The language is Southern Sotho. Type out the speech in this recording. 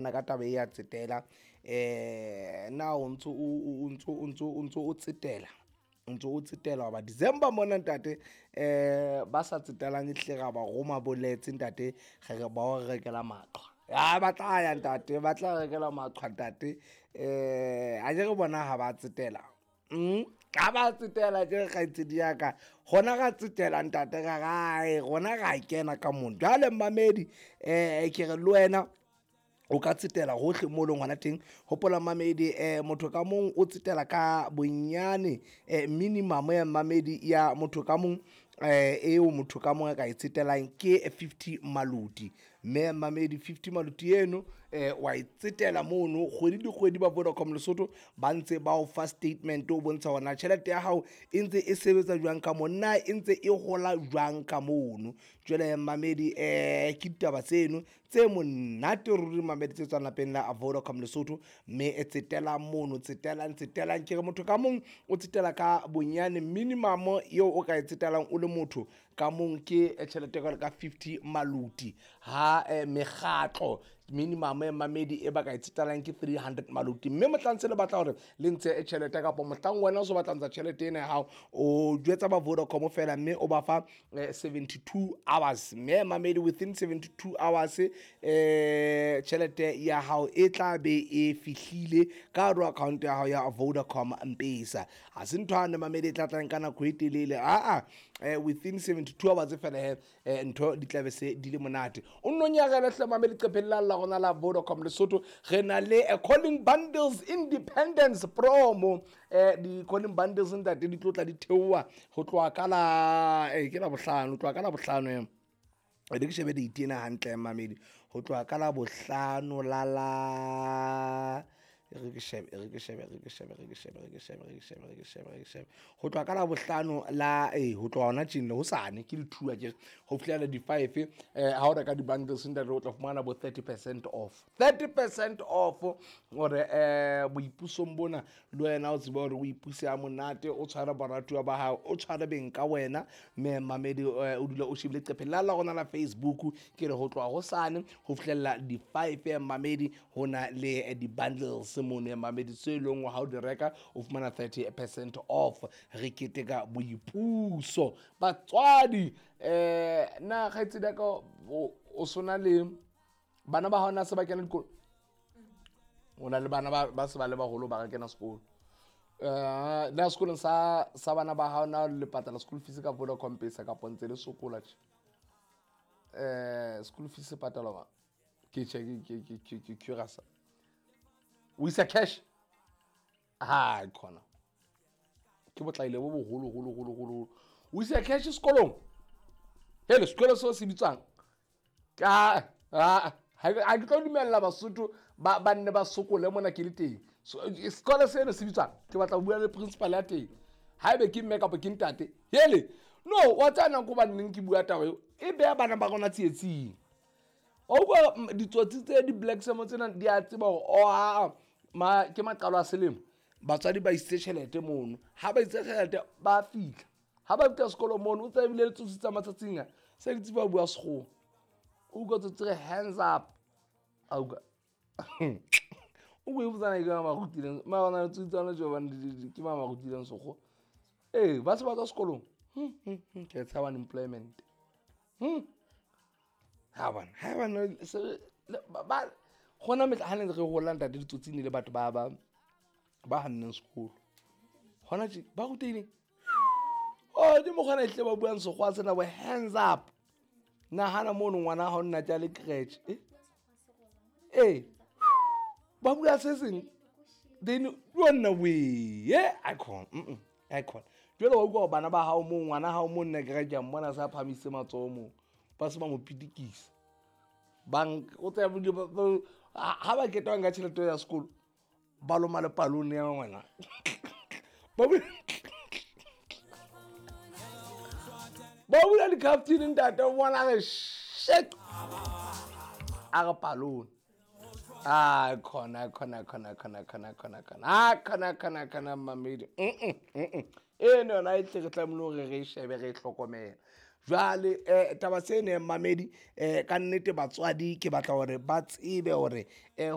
Ka taba e ya tsetela na o ntso o tsetela, o ntso o tsetela hoba December mona ntate, ba sa tsetelang ehlile ra ba roma boletse ntate, re re ba o rekela maqhwa. A ba tla ya ntate, ba tla rekela maqhwa ntate. Akere bona ha ba tsetela, ha ba tsetela akere kgaitsedi ya ka, rona ra tsetela ntate ra rae rona ra kena ka mono. Jwale mmamedi ke re le wena o ka tsetela hohle mo leng hona teng. Hopola mmamedi, motho ka mong o tsetela ka bonyane minimum ya mmamedi ya motho ka mong, eo motho ka mong a ka e tsetelang ke 50 maluti. Mme mmamedi 50 maluti eno wa e tsetela mono kgwedi le kgwedi. Ba Vodacom Lesotho ba ntse ba o fa statement o bontsha hore na tjhelete ya hao e ntse e sebetsa jwang ka mona, na e ntse e hola jwang ka mono. Jwale mmamedi ke ditaba tseno tse monate ruri mamedi tse tswang lapeng la Vodacom Lesotho. Mme e tsetelang mono, tsetelang tsetelang, ke re motho ka mong o tsetela ka bonyane minimum eo o ka e tsetelang o le motho ka mong ke tjhelete e ka 50 maluti. Ha mekgatlo minimum ya mamedi e ba ka e tsetelang ke 300 maluti. Mme mohlang se le batla hore le ntshe tjhelete kapa mohlang wena o so batla ntsha tjhelete ena ya hao, o jwetsa ba Vodacom fela mme o ba fa 72 hours. Mme mamedi within 72 hours tjhelete ya hao e tla be e fihlile ka hare ho account ya hao ya Vodacom M-Pesa. Ha se ntho yane mamedi e tla tlang ka nako e telele, aa within 72 hours fela he ntho di tla be se di le monate. O nno nyarele hle mamedi leqepheng la la rona la Vodacom Lesotho. Re na le calling bundles independence promo. Di calling bundles ntate di tlo tla di theoha ho tloha ka la ke la bohlano, ho tloha ka la bohlano e ke shebe date ena hantle mamedi, ho tloha ka la bohlano la la re ke shebe re ke shebe re ke shebe re ke shebe re ke shebe re ke shebe re ke shebe re ke shebe ho tloha ka la bohlano la ho tloha hona tjena hosane ke di-2 akere ho fihlela di-5. Ha o reka di-bundles ntate o tla fumana bo 30% off, 30% off hore boipusong bona le wena o tsebe hore o ipuse ha monate, o tshware baratuwa ba hao, o tshware beng ka wena. Mme mamedi o dula o shebile leqephe la la rona la Facebook. Ke re ho tloha hosane ho fihlella di-5 mamedi, ho na le di-bundles mono mamedi tse leng ha o di reka o fumana 30% off. Re keteka boipuso batswadi. Na kgaitsedi ya ka o sona le bana ba hao na se ba kena dikolo? O na le bana ba se ba le baholo ba kena sekolo? Na sekolong sa bana ba hao na le patala school fees ka Vodacom Pesa kapa ntse le sokola tje? School fees e patalwa mang? Ke tjhe, ke curious. O isa cash? Ha khona ke botlaile bo boholo holo holo holo. O isa cash sekolong? Hele, sekolo seo se bitswang ka ha ke tlo dumella Basotho ba nne ba sokole mona ke le teng. Sekolo seno se bitswang, ke batla ho bua le principal ya teng, haebe ke mme kapa ke ntate. Hele, no wa tsaya nako ba nneng ke bua taba eo e beha bana ba rona tsietsing. Wa utlwa ditsotsi tse di-black samo tsena di a tseba hore oh aa ma ke maqalo a selemo, batswadi ba isitse tjhelete mono. Ha ba isitse tjhelete ba fihla, ha ba fihla sekolong mono o tsebile le tsotsi tsa matsatsing a se di tseba bua sekgowa. O utlwa tsotsi re hands up, a utlwa o bue botsana ke ba rutileng mara na tsotsi tsana jo bane ke ba rutileng sekgowa. Ba se ba tswa sekolong ke tshaba unemployment. Ha bona ha bana ba gona metla ha ne re hola ntate ditsotsi ne le batho ba ba ba hanneng sekolo. Hona tje ba rutehileng oh di mo gona ehle ba buang sekgowa sena bo hands up. Nahana mono ngwana ha o nna tja le creche ba bua se seng then yona we icon icon. Jwale wa utlwa bana ba hao mo ngwana hao mo nna ke re ke a mmona sa phamisitse matsoho mo ba se ba mo pitikisa bang o tsaya ha ba ketwa nka tjhelete ya sekolo ba loma le palone ya ngwana ba bula di-captain ntate o bona re shit a re palone. Ah khona khona khona khona khona khona khona ah khona khona khona mamedi eno yona e tle re tlamehile hore re shebe re hlokomela. Jwale taba seno mamedi ka nnete batswadi ke batla hore ba tsebe hore